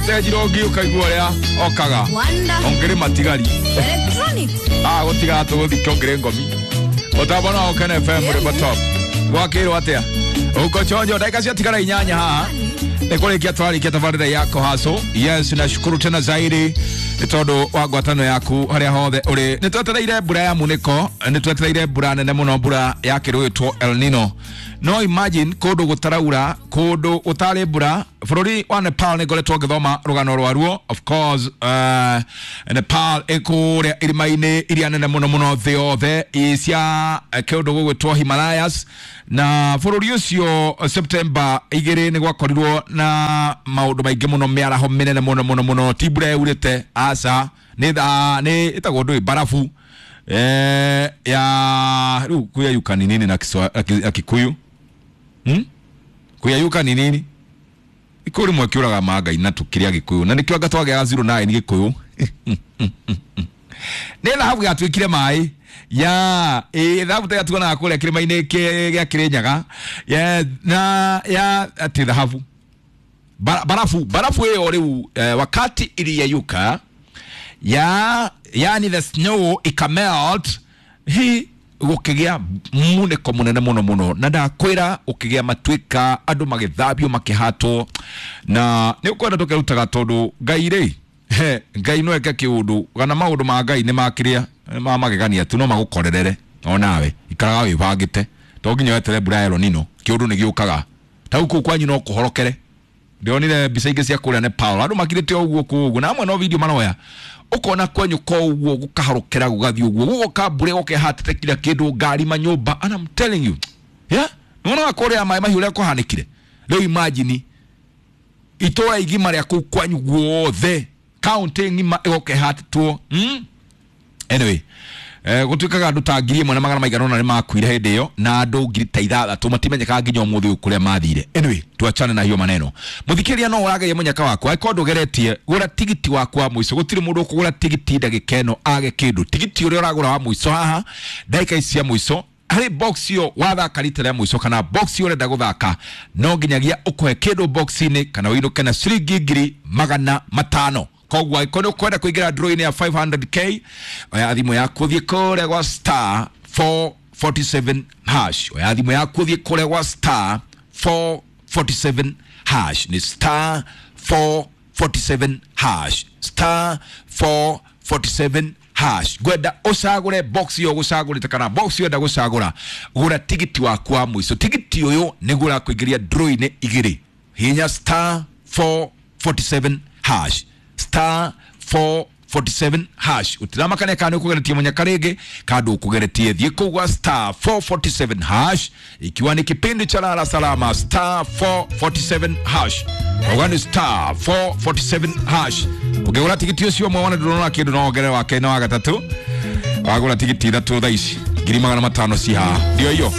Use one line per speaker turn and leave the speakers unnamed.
Ũkĩte njirongi ũkaigua ũrĩa okaga.
Wonder
Ongere matigari.
Electronics.
Ah, gũtigaga tũgũthike ongere ngomi. Mũtambo no Ũkene FM mũrĩmo top. Gwakĩrwo atĩa? Uko chonjo, dakika ciatigara 8 haha. Nĩ kũrĩkia twarĩkia tabarĩra yako haso. Yes, nashukuru tena zaidi nĩ tondũ wa ngwatanĩro yaku harĩa hothe ũrĩ. Nĩ twetereire mbura ya munĩko, nĩ twetereire mbura nene mũno, mbura ya kĩrũĩtwo El Nino. No imagine kũndũ gũtaraura, kũndũ gũtarĩ mbura. Bũrũri wa Nepal nĩ ngoretwo ngĩthoma rũgano rwaruo. Of course, Nepal ĩ kũrĩa irĩma-inĩ iria nene mũno mũno thĩ yothe cia kĩũndũ gũgwĩtwo Himalayas, na bũrũri ũcio September 2 nĩ gwakorirwo na maũndũ maingĩ mũno, mĩaraho mĩnene mũno mũno mũno. Ti mbura yaurĩte, aca, nĩ nĩ ĩtagwo ndũĩ barafu ya rĩu kuyayuka ni nini na na Kikuyu? Kuyayuka ni nini? Ikũ rĩmwe kĩũraga mangai na tũkĩrĩa Gĩkũyũ na nĩkĩo anga twagĩaga 09 Gĩkũyũ. Nĩ thahabu yatuĩkire maĩ ya ĩ thahabu ta tuonaga kũrĩa kĩrĩma-inĩ gĩa Kĩrĩnyaga ya na ya atĩ thahabu barafu barafu ĩyo rĩu wakati iliyeyuka ya yani the snow ikamelt hi gũkĩgĩa munĩko mũnene mũno mũno, na ndakwĩra ũkĩgĩa matuĩka andũ magĩthambio makĩhatwo, na nĩ ũkwenda tũkerutaga tondũ Ngai rĩ he Ngai no eke kĩũndũ kana maũndũ ma Ngai nĩ makĩrĩa ma magegania tu no magũkorerere onawe ikaraga wĩbangĩte to nginya wetere mbura ya El Nino. Kĩũndũ nĩ gĩũkaga ta kũu kwanyu no kũhorokere. Ndĩronire mbica ingĩ cia kũrĩa Nepal, andũ makirĩte o ũguo kũu ũguo, na amwe no video maroya, ũkona kwanyu ko ũguo gũkahorokera gũgathiĩ ũguo, gũgoka mbura ĩgoka ĩhatĩte kila kĩndũ, ngari, manyũmba, and I'm telling you, yeah, nĩwonaga kũrĩa maĩ mahiũ ũrĩa kũhanĩkire. Rĩu imagine itũra igima rĩa kũu kwanyu guothe, kaunti ng'ima ĩgoka ĩhatĩtwo. Anyway, gũtuĩkaga andũ ta 1,900 nĩ makuire hĩndĩ ĩyo na andũ 6,000 matimenyekaga nginya ũmũthĩ ũyũ kũrĩa mathire. Anyway, tuachane na hiyo maneno. Mũthikĩrĩria, no ũrageria mũnyaka waku, angĩkorwo ndũgeretie gũra tigiti waku wa mũico. Gũtirĩ mũndũ ũkũgũra tigiti ndagĩka ĩno age kĩndũ. Tigiti ũrĩa ũragũra wa mũico haha ndagĩka ici cia mũico, harĩ box ĩyo wathaka rita rĩa mũico kana box ĩyo ũrenda gũthaka, no nginyagia ũkũhe kĩndũ box-inĩ kana ũinũke na ciringi 500,000. Koguo angĩkorwo nĩ ũkwenda kũingĩra draw-inĩ ya 500K, oya thimũ yaku ũthiĩ kũrĩa gwa star 447 hash. Oya thimũ yaku ũthiĩ kũrĩa gwa star 447 hash, nĩ star 447 hash, star 447 hash. Ngwenda ũcagũre box ĩyo ũgũcagũrĩte kana box ĩyo enda gũcagũra. Gũra tigiti waku wa mũico. Tigiti ũyũ nĩguo ũrakũingĩria draw-inĩ igĩrĩ. Hihinya star 447 hash, star 447 hash. Ũtiramakania kana nĩ ũkũgeretie mũnyaka rĩngĩ kana ndũkũgeretie. Thiĩ kũu gwa star 447 hash, ikiwa ni kipindi cha Lala Salama. Star 447 hash, auga nĩ star 447 hash. Ũngĩgũra tigiti ũcio ũmwe wona ndũrona kĩndũ, no wongerere wa kerĩ na wa gatatũ. Wagũra tigiti ithatũ thaa ici 500,000 ci haha, ndio hiyo.